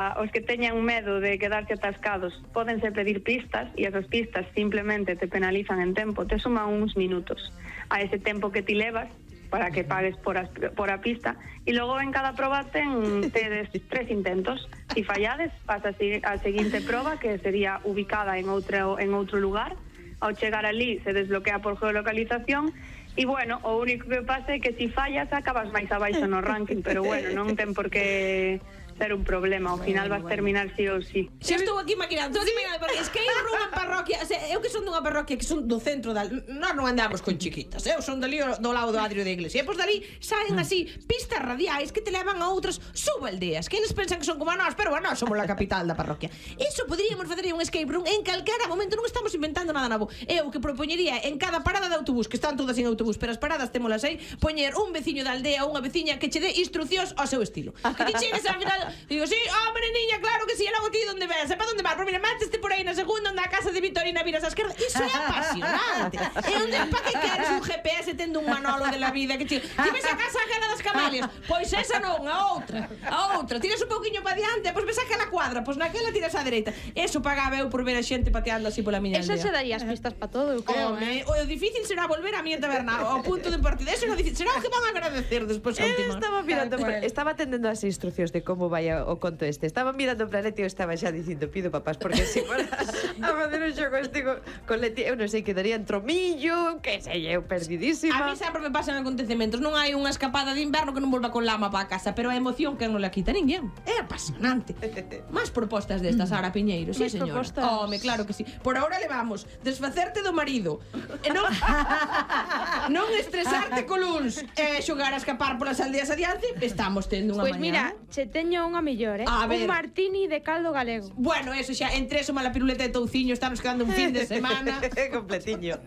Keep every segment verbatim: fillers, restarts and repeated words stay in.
Os que teñan medo de quedarse atascados pódense pedir pistas e esas pistas simplemente te penalizan en tempo, te suman uns minutos a ese tempo que ti levas para que pagues por a, por a pista e logo en cada proba ten tedes tres intentos. Si fallades, pasa a seguinte proba que sería ubicada en outro, en outro lugar. Ao chegar ali se desbloquea por geolocalización e, bueno, o único que pasa é que si fallas acabas máis abaixo no ranking, pero, bueno, non ten por que ser un problema, ao final vas terminar sí ou sí. Xa estou aquí maquinando, estou aquí maquinando, porque escape room en parroquia, o sea, eu que son dunha parroquia que son do centro da... Nós non andamos con chiquitas, eu son dali do lado do Adrio da iglesia, e pois dali saen así pistas radiais que te levan a outras subaldeas, que eles pensan que son como a nós, pero a nós somos a capital da parroquia. Iso poderíamos facer un escape room en calquera momento, non estamos inventando nada novo. Eu que propoñería en cada parada de autobús, que están todas en autobús, pero as paradas témolas aí, poñer un veciño da aldea ou unha veciña que che dé instruccións ao seu estilo. Que ti chegues ao final, digo, sí, hombre, niña, claro que sí, e logo ti donde ves, e para onde vas? Pois mira, máteste por aí na segunda, onde a casa de Vitorina viras a esquerda. Iso é apasionante. E onde, para que queres un G P S tendo un manolo de la vida que ti... Ti ves a casa aquela das Camalias, pois esa non, a outra, a outra. Tiras un pouquiño para diante, pois ves aquela cuadra, pois naquela tiras á dereita. Eso pagaba eu por ver a xente pateando así pola miña aldea. Eso se daría as pistas para todo, eu creo. Home, o difícil será volver a miña taberna ao punto de partida. Eso é difícil. Será o que van a agradecer despois a última. Estaba mirando, estaba atendendo as instruccións de como vai o conto este. Estaba mirando para Leti e eu estaba xa dicindo, pido papás, porque se fuera a facer un xogo este con, con Leti, eu non sei, quedaría en tromillo, que sei, eu perdidísima. A mí sempre me pasan acontecementos. Non hai unha escapada de inverno que non volva con lama para casa, pero a emoción que non la quita ninguén. É apasionante. Más propostas destas, Sara Piñeiro, sí, señora. Home, claro que sí. Por ahora levamos desfacerte do marido, e non, non estresarte con luns, e xogar a escapar polas aldeas adiante. Estamos tendo unha Pois mañá. mira, che teño unha millor, eh? A ver. Un martini de caldo galego. Bueno, eso xa, entre eso mala piruleta de touciño, estamos quedando un fin de semana. Completiño.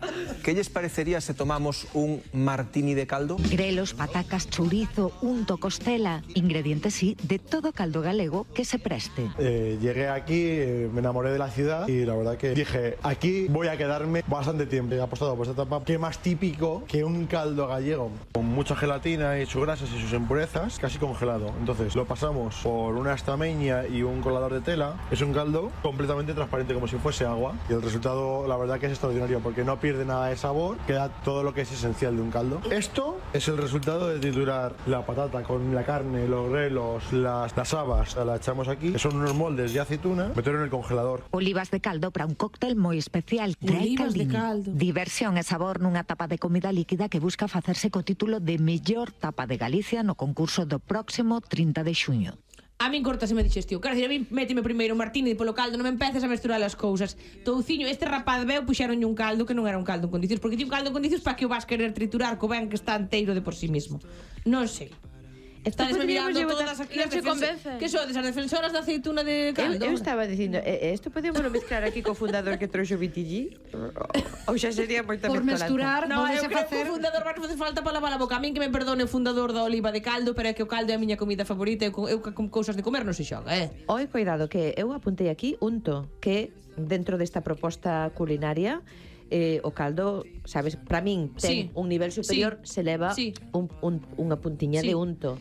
¿Qué lles parecería se tomamos un martini de caldo? Grelos, patacas, chorizo, unto, costela. Ingredientes, sí, de todo caldo galego que se preste. Eh, llegué aquí, eh, me enamoré de la ciudad y la verdad que dije, aquí voy a quedarme bastante tiempo. He apostado por esta etapa. ¿Qué más típico que un caldo gallego? Con mucha gelatina y sus grasas y sus impurezas, casi congelado. Entonces lo pasamos por una estameña y un colador de tela. Es un caldo completamente transparente, como si fuese agua. Y el resultado, la verdad que es extraordinario, porque no pierde nada de sabor, queda todo lo que es esencial de un caldo. Esto es el resultado de triturar la patata con la carne, los grelos, las, las habas. La echamos aquí, que son unos moldes de aceituna, meterlo en el congelador. Olivas de caldo para un cóctel moi especial. Trae Olivas de Caldini. caldo. Diversión e sabor nunha tapa de comida líquida que busca facerse co título de mellor tapa de Galicia no concurso do próximo trinta de xuño. A min cortaseme a digestión. Quero dicir, a min méteme primeiro un martini polo caldo, non me empeces a mesturar as cousas. Touciño, este rapaz veu puxeronlle un caldo que non era un caldo en condicións, porque ti un caldo en condicións para que o vas querer triturar co ben que está enteiro de por sí mismo. Non sei. Estades me mirando todas aquí as defensoras. Que sodes, as defensoras da aceituna de caldo? Eu, eu estaba dicindo, eh, isto podemos mezclar aquí co fundador que trouxo Vitillí? Ou xa sería moita Por mezcolanza? mesturar, No, eu podese creo facer... que o fundador vai facer falta para lavar a boca. A min que me perdone o fundador da oliva de caldo, pero é que o caldo é a miña comida favorita. Eu, eu con cousas de comer non se xoga, eh? Oi, cuidado, que eu apuntei aquí unto, que dentro desta proposta culinaria eh, o caldo, sabes, para min ten Sí. un nivel superior, Sí. se leva Sí. un, un, unha puntiña Sí. de unto.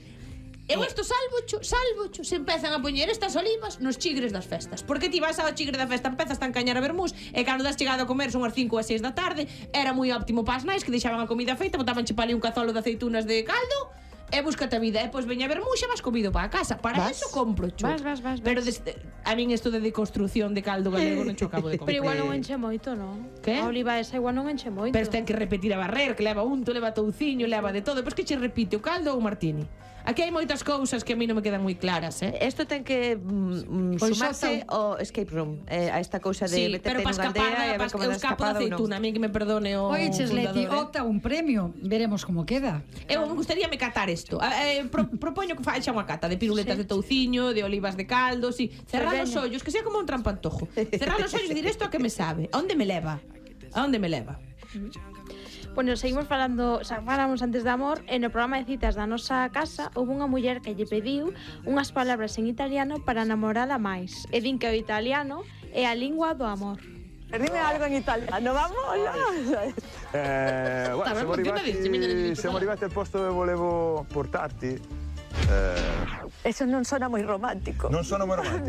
Eu isto salvocho, salvocho, se empezan a poñer estas olivas nos chigres das festas. Porque ti vas ao chigre da festa, empezas a encañar a vermús, e cando das chegado a comer son as cinco ou as seis da tarde, era moi óptimo para as nais, que deixaban a comida feita, botaban che pa ali un cazolo de aceitunas de caldo, e búscate a vida, e pois veña a vermús e vas comido para a casa. Para Vas? eso compro, cho. Vas, vas, vas, vas. Pero desde, a min isto de deconstrucción de caldo galego non cho acabo de comprar. Pero igual non enche moito, non? Que? A oliva esa igual non enche moito. Pero ten que repetir a barrer, que leva unto, leva touciño, leva de todo. Pois que che repite, o caldo ou o martini? Aquí hai moitas cousas que a mí non me quedan moi claras, eh? Isto ten que mm, Pois sumarse xa ao escape room, eh, a esta cousa de Sí, meterte pero para nunha escapar, aldea e a ver como eu da escapo da escapada ou non. aceituna, a mí que me perdone o Oye, Chesleti, fundador, eh? opta un premio. Veremos como queda. Eu me gustaría me catar isto. Eh, pro, propoño que faxa unha cata de piruletas sí. de touciño, de olivas de caldo, si, sí. Cerrar os ollos, que sea como un trampantojo. Cerrar os ollos e dir isto a que me sabe. A onde me leva? A onde me leva? Bueno, seguimos falando, xa falamos antes de amor, e no programa de citas da nosa casa houve unha muller que lle pediu unhas palabras en italiano para namorala máis. E din que o italiano é a lingua do amor. Dime algo en italiano, vamos. Eh, guarda, siamo arrivati, siamo arrivati al posto dove volevo portarti. Eh, Eso non sona moi romántico. non sono moi romantico.